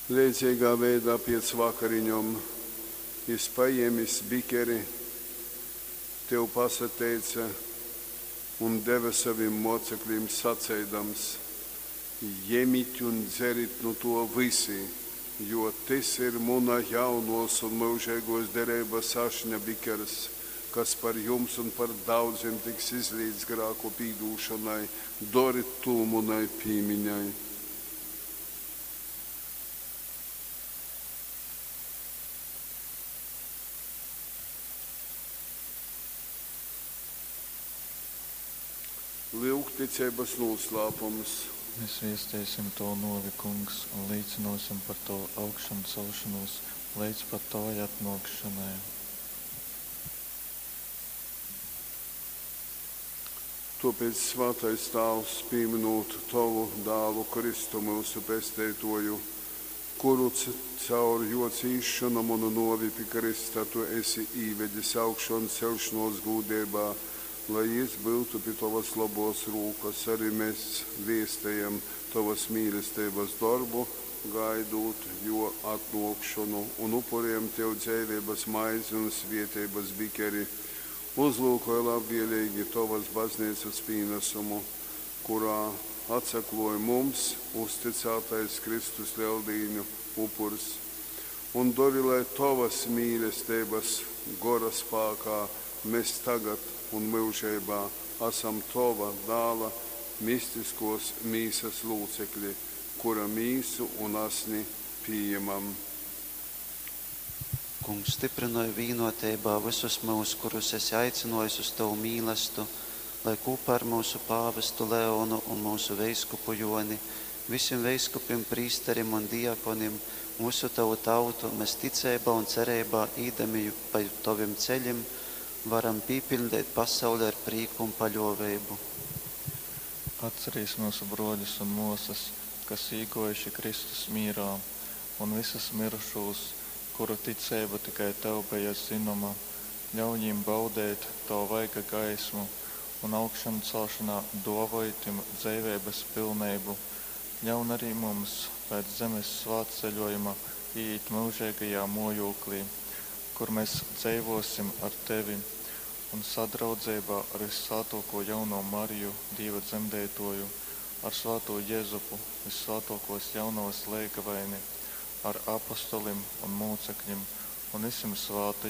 Leidzeigā veidā piec vakariņom jys, pajēmis bikeri, Tev pasateice un deve sovim mōceklim saceidams, Jemit un dzerit nu tō vysi, jo tys ir muna jaunōs un myužeigōs dereibas ašņa bikers, kas par jums un par daudzim tiks izlīts grāku pīdūšonai. Dorit tū munai pīmiņai. Lyuk ticeibas nūslāpums. Mēs viesteisim Tovu nōvi, Kungs, un līcynōsim par Tovu augšancelšonūs leidz pat Tovai atnōkšonai. Tōpēc, svātais Tāvs, pīmynūt Tovu Dālu Kristu, myusu Pesteitōju, kuru caur Jō cīsšonom un nōvi pi krysta Tu esi īvedis augšonceļšonōs gūdeibā, lai Jys byutu pi Tovas lobōs rūkas, ari mes vēstejam Tovas mīlesteibas dorbu, gaidūt Jō atnōkšonu, un upurejam Tev dzeiveibas maizi un svēteibas bikeri. Uzlyukoj labvēleigi Tovas Bazneicas pīnasumu, kurā atsaklōj mums uztycātais Kristus Leldīņu upurs, un dori, lai Tovas mīlesteibas Gora spākā mes tagad un myužeibā asam Tova Dāla mistiskōs mīsas lūcekli, kura mīsu un asni pījemam. Kungs, styprynoj vīnoteibā vysus myus, kurus esi aicynōjis uz tovu mīlastu, lai kūpā ar myusu pāvestu Leonu un myusu veiskupu Jōni, vysim veiskupim, prīsterim un diakonim, un vysu tovu tautu, mes ticeibā un cereibā īdami pa tovim ceļim, varam pīpiļdeit pasauli ar prīku un paļōveibu. Atcerīs myusu brōļus un mōsas, kas īgōjuši Kristus mīrā, un vysus myrušūs, kuru ticeiba tikai Tev beja zynoma, ļauj jim baudeit Tova vaiga gaismu un augšancelšanā dōvoj tim dzeiveibas pilneibu. Ļaun arī mums pēc zemes svātceļojuma iīt myužeigajā mōjūklī, kur mēs dzeivōsim ar Tevi un sadraudzeibā ar vyssvātōkō jauno Mariju, Dīva dzemdeitōju, ar svātū Jezupu, vyssvātōkōs jaunovas leigavaini, ar apostolim un mūcekļim un vysim svātajim.